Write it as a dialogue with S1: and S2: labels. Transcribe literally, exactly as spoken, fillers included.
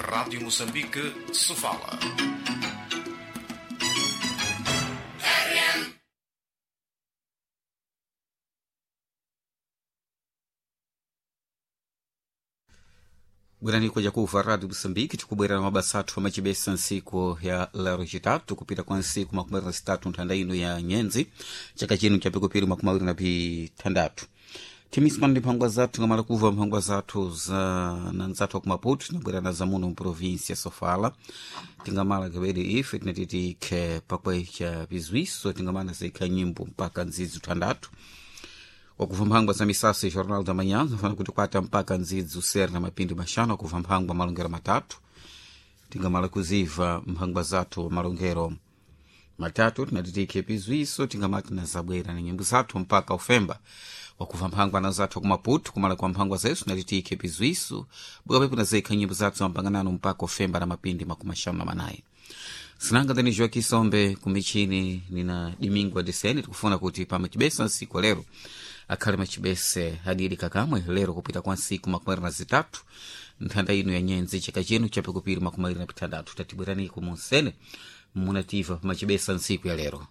S1: Rádio Moçambique, Sofala.
S2: Bwerani koja kuva Rádio Moçambique, tikubwera na mabasa athu amacibesa ntsiku ya lero citatu kupita kwa ntsiku makumi awiri na zitatu nthanda ino ya nyenzi chaka chino cha pikupiri makumi awiri na pithandatu timisima ndi mphangwa zathu ngamala kuva mphangwa zathu za na nzathu aku Maputo tinabwera na zamuno mprovinsia Sofala tingamala kabedi ife tinati tikhe pakwecha bizwiso tingamala zikha nyimbo mpaka ndzidzi thandatu wakuva mphangwa za misasa e jornal da manhã zafana kuti kwata mpaka ndzidzi usere na mapindi maxanu akuva mphangwa malongero matatu tingamala kuziva mphangwa zathu malongero matatu tinati tikhe pizwiso tingamati na zabwera na nyimbo zathu mpaka ufemba wakuva mphangwa na zathu kumaputu kumala kwa mphangwa zesu tinati tikhe pizwiso bukapepo na zekha nyimbo zathu zampanganano mpaka ufemba na mapindi makumi axanu na manayi sinanga dani Joaquim Sombe kumichini nina Domingo Adesene tikufuna kuti pamachibesa nsiku lero akhale machibese adili kakamwe lero kupita kwa nsiku makumi awiri na zitatu nthanda ino ya nyenzi chaka chino chapikupiri makumi awiri na pitandatu tatibweraniko munsene munativa pamachibesa nsiku ya lero.